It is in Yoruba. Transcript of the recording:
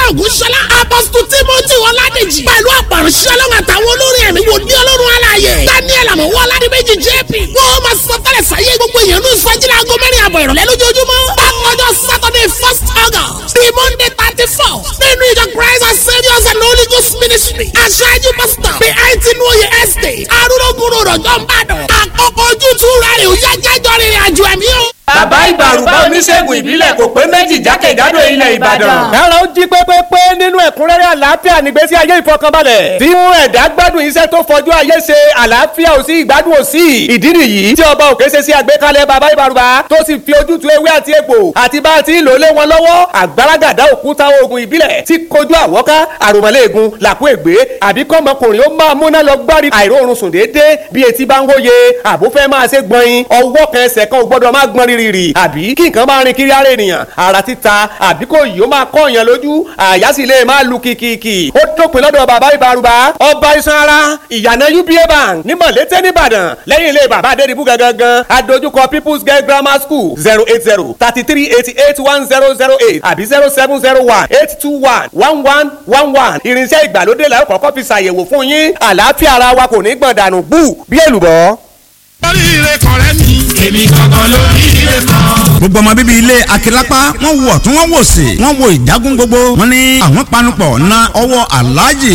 Ògúnṣọlá. Apostle Timothy Ọládèjì. Pẹ̀lú àpàrọ̀ṣẹ́ ọlọ́run àtàwọn olórin ẹ̀mí wò ní ọlọ́run aláàyè. Daniel Àmọ̀wọ́ Ọládìméjì JP. Wọ́n máa sọ tẹ́lẹ̀ sáyé gbogbo èèyàn ní ìsọjí láago 4:30 ìrọ̀lẹ́ lójoojúmọ́. Bákanjọ́ Saturday 1st August the Monday 34 nínú ìjọ Christ and Saviours and Holy Ghost Ministry. Aṣáájú Pastor B.I.T. Nuoye Estate. Arúgbó rọ̀jọ́ ń bàdàn. Àkókò ojútùú rẹ̀ ò yá jájọ́ rìnrìn àjò ẹ̀mí o. Bàbá Ìbàrùbá oníṣègùn ìbílẹ̀ kò pé méjì jákèjádò ilẹ̀ Ìbàdàn. Kára ó jí pépépé nínú ẹ̀kúnrẹ́rẹ́ àlàáfíà nígbésí ayé ìfọkànbalẹ̀. Tí mú ẹ̀dá gbádùn iṣẹ́ tó fọjú ayé ṣe, àlàáfíà ò sí, ìgbádùn ò sí. Ìdí nìyí tí ọba òkè ṣe sí àgbékalẹ̀ bàbá Ìbàrùbá tó sì fi ojútùú ewé àti egbò àti bá a ti ń lò lé wọn lọ́wọ́. Àgbàràgàdá òkúta oògùn ìbílẹ̀ tí kojú àwọ́ká, àròmọ̀lẹ́ẹ̀gùn, làkú ègbé, àbí kọ́mọkùnrin ó máa múná lọ gbárí àìróorun sùn déédéé bí etí bá ń hóye, àbó fẹ́ máa ṣe gbọ̀nyin, ọwọ́ kan ẹsẹ̀ kan ò gbọ́dọ̀ máa gbọ́n rírì, àbí kí nǹkan máa rin kiri ara ènìyàn, ara títa, àbí kò yìí ó máa kọ́ èèyàn lójú, àyà sì lè máa lu kìkìkì. Ó dópin lọ́dọ̀ bàbá Ìbàrùbá, ọba iṣan ara, ìyànà UBA Bank ní Mọ̀lété nìbàdàn, lẹ́yìn ilé bàbá Adédìbú gangan, adójúkọ People's Girl Grammar School. 08033881008 àbí 07018211111. Irinṣẹ́ ìgbàlódé la ó kọ́kọ́ fi ṣàyẹ̀wò fún yín. Àlàáfíà ara wa kò ní gbọ̀n dànù bú bí èlùbọ́. Oríire kan rẹ mi. Èmi gangan lóríire kan. Gbogbo ọmọ bíbí ilé Akilapa, wọ́n wo ọ̀tún, wọ́n wò sí, wọ́n wo ìdágún gbogbo. Wọ́n ní àwọn panupọ̀ na ọwọ́ aláàjì.